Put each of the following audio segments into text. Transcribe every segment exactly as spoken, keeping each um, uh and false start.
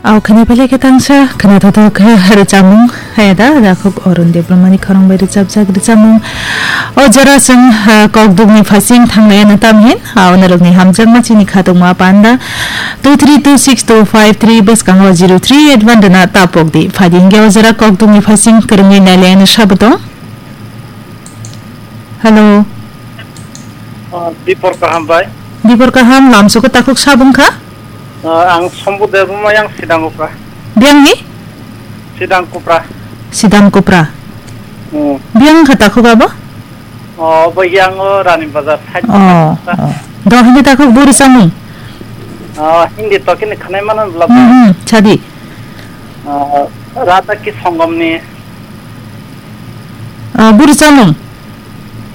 Au khani pele khe tangsa khana thothok khe rwchapmung. Haya da, da khuk Arun Debbarmani khorang bai rwchapjak rwchapmung. O jora chwng, ah, kokdukni phaising thanglai ano tamhin. Au norokni hamjakma chini khatungma panda two three two six two five three bwskango zero three eight one rwna tapok di. Phaidi hinkhe o jora kokdukni phaising kwrwngwi nailai ano sabo tong. Hello. Ah, Dipor kaham bai. Dipor kaham, lamsoko takhuk sabung kha? Ah, ang Sombu Debbarma yang Sidang Kupra. Biyangni? Sidang Kupra. Sidang Kupra. Hmm. Biyang kha takhuk abo? Oh, bai yang o Rani Bazar side. Oh, oh. Do hindi takhuk buri samung? Ah, hindi to kini khanai mano bla. Hmm, hmm, chadi. Ah, Radha ki Sangam ni. Ah, buri samung?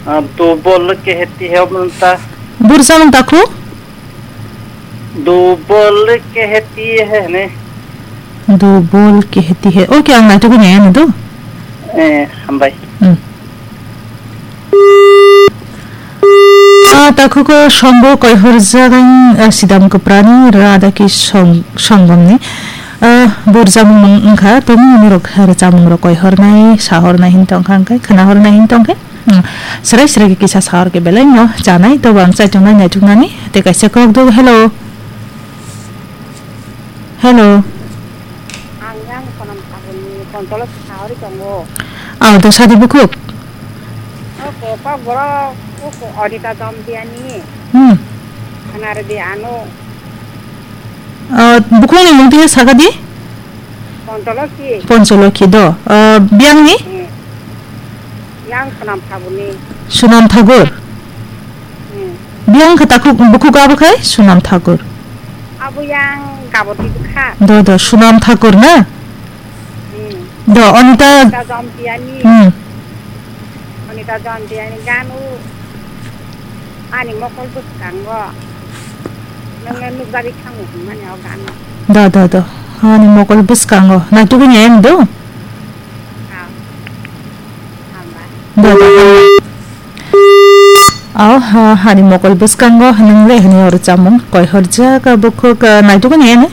Ah, do bol ke heti he manta. Buri samung takhuk? Do bol ke heti he ne. Do bol ke heti he. Okay, ang naitukuni ano do. Eh, hambai. Hmm. Ah, takhuko Sombu koihorjak ang, ah, Sidam Kuprani Radha ki Song-, Songgomni. Ah, burjamung wngkha, tongmung rok rwchapmung rok koihornai, sahornai hin tongkha, hwnkhe khwnahornai hin tongkhe. Hmm. Srai srai khe kisa sahor khe belai no chanai, tobo ang chaichungnai naichuknani. Tei kaisa kok do, hello. Hello. Ang yang Sonam Thakurni kontolo sahori tongo. Aw, to sadi bukhuk? O ko, kokborok, o ko, Odita Jomtiani. Hmm. Khana rwdi ano. Ah, bukhukni mung twi sakha di? Poncholokhi. Poncholokhi do. Ah, biyangni? Hmm. Yang Sonam Thakurni. Sonam Thakur? Hmm. Biyang khe takhuk, bukhuk abo khai Sonam Thakur. Abo yang Gaboti bwkha. Do, do, Sonam Thakur na? Hmm. Do, Anita. Anita Jomtiani. Hmm. Anita Jomtiani ganu. Ani mokol bwskango. Nangno nukjagwi thango hwnmani o ganu. Do, do, do. Ani mokol bwskango. Naitukgwi nai ani do? Ah. Hambai. Do, do, hambai. Aw, ha, hani mokol bwskango nwng le hwnwi oro chamung koi horjak, bukhuk, ah, naitukgwi nai ani?